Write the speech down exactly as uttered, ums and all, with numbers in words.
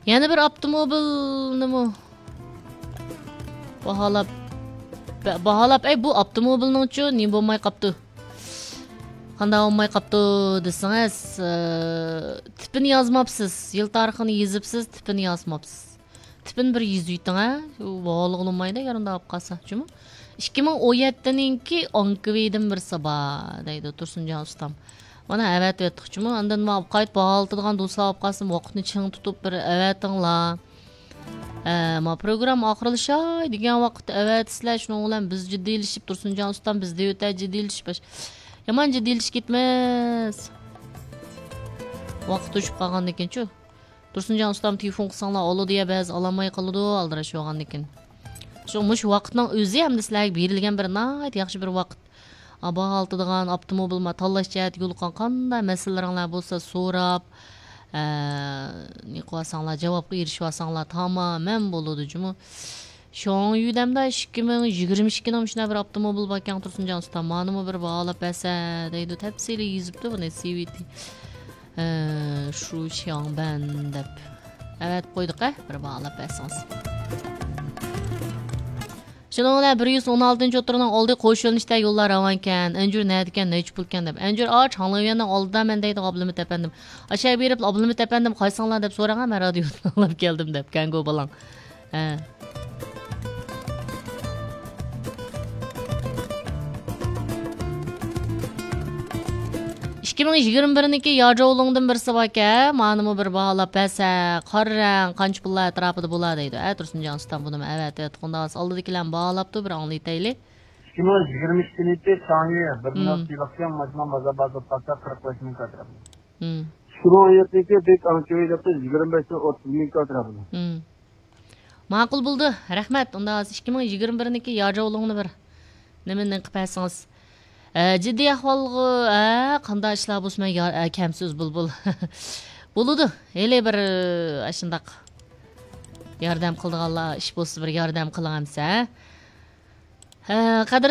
يەنە بىر ئاپتوموبىلنىمۇ باھالاپ، بە-، باھالاپ، ئەي، بۇ ئاپتوموبىلنىڭچۇ نېمە بولماي قاپتۇ؟ قانداق بولماي قاپتۇ دېسىڭىز، ئى، تىپىنى يازماپسىز. يىل تارىخىنى يېزىپسىز، تىپىنى يازماپسىز. تىپىنى بىر يېزىۋېتىڭ، ھە؟ باھالىغىلى بولمايدۇ، ئەگەر ئۇنداق بولۇپ قالسا. جۇمۇ، ئىككى مىڭ ئون يەتتىنىڭكى ئانكىۋىدىن بىرسى بار، دەيدۇ تۇرسۇنجان ئۇستام. مانا ئەۋەتىۋەتتۇق جۇمۇ. ئاندىن مانا قايتا باھالىتىدىغان دوستلار بولۇپ قالسا، ۋاقىتنى چىڭ تۇتۇپ بىر ئەۋەتىڭلار. ھە، ما پروگرامما ئاخىرلىشاي دېگەن ۋاقىتتا ئەۋەتسىلەر، شۇنىڭ بىلەن بىز جىددىيلىشىپ، تۇرسۇنجان ئۇستام بىز دېۋىتە جىددىيلىشىپ باش-، يامان جىددىيلىشىپ كېتىمىز. ۋاقىت توشۇپ قالغاندىكىنچۇ؟ تۇرسۇنجان ئۇستام تېلېفون قىلساڭلار ئالىدۇ يا، بەزى ئالالماي قالىدۇ، ئالدىراش بولغاندىكىن. شۇ مۇشۇ ۋاقىتنىڭ ئۆزى ھەمدە سىلەرگە بېرىلگەن بىر ناھايىتى ياخشى بىر ۋاقىت. ئا، باھالىتىدىغان ئاپتوموبىل، ما تاللاش جەھەتتە يولۇققان قانداق مەسىلىلىرىڭلار بولسا سوراپ، ئە، نېمە قىلىۋالساڭلار، جاۋابقا ئېرىشىۋالساڭلار تامامەن بولىدۇ جۇمۇ. شۇڭ يۈدەمدە ئىككى مىڭ يىگىرمە ئىككىنىڭ شۇنداق بىر ئاپتوموبىل باركەن تۇرسۇنجان ئۇستا، مانىمۇ بىر باھالاپ بەرسە دەيدۇ، تەپسىلىي يېزىپتۇ بۇنى سىۋىتى. ئە، شۇ شياڭبەن دەپ ئەۋەتىپ قويدۇق، ئە، بىر باھالاپ بەرسىڭىز. شۇنىڭ بىلەن بىر يۈز ئون ئالتىنچى ئوتتۇرىنىڭ ئالدى قوش يۆنىلىشتە يوللار راۋانكەن. ئەنجۈر نەدىكەن، نەچچە پۇلكەن دەپ. ئەنجۈر ئاچ، ھاڭلىۋيەننىڭ ئالدىدا مەن دەيدىغان ئابلىمىت ئەپەندىم. ئاشۇ يەرگە بېرىپ، ئابلىمىت ئەپەندىم قايسىڭلار دەپ سوراڭ، مەن رادىيودىن ئاڭلاپ كەلدىم دەپ، كەڭگو بالاڭ. ھە. ئىككى مىڭ يىگىرمە بىرنىڭكى ياجاۋلۇڭدىن بىرسى باركەن، مانىمۇ بىر باھالاپ بەرسە، قارا رەڭ قانچە پۇللار ئەتراپىدا بولا دەيدۇ. ئە، تۇرسۇنجان ئۇستام بۇنىمۇ ئەۋەتىۋەتتۇق. ئۇنداق بولسا ئالدىدىكىلەرمۇ باھالاپتۇ، بىر ئاڭلىتايلى. ئىككى مىڭ يىگىرمە ئىككىنچى تاڭى بىر مىڭ مم. سىلىقچان ماجما بازار بازار پاسا قىرىق بەش مىڭ كاترا. مم. ئىككى مىڭ ئون يەتتىنچى بەك ئاڭچىۋى دەپتۇ، يىگىرمە بەشتىن ئوتتۇز مىڭ كاترا بۇلار. مم. ماقۇل بولدى، رەھمەت. ئۇنداق بولسا ئىككى مىڭ يىگىرمە بىرنىڭكى ياجاۋلۇڭنى بىر نېمە نېقىپ بەرسىڭىز. ئە، جىددىي ئەھۋالغا، ئە، قانداق ئىشلار بولسا مەن يار-، ئە، كەمسىز بۇلبۇل. بولىدۇ. ھېلى بىر، ئە، ئاشۇنداق ياردەم قىلىدىغانلار ئىش بولسا بىر ياردەم قىلىڭ ئەمسە. ھە، قەدىرلىك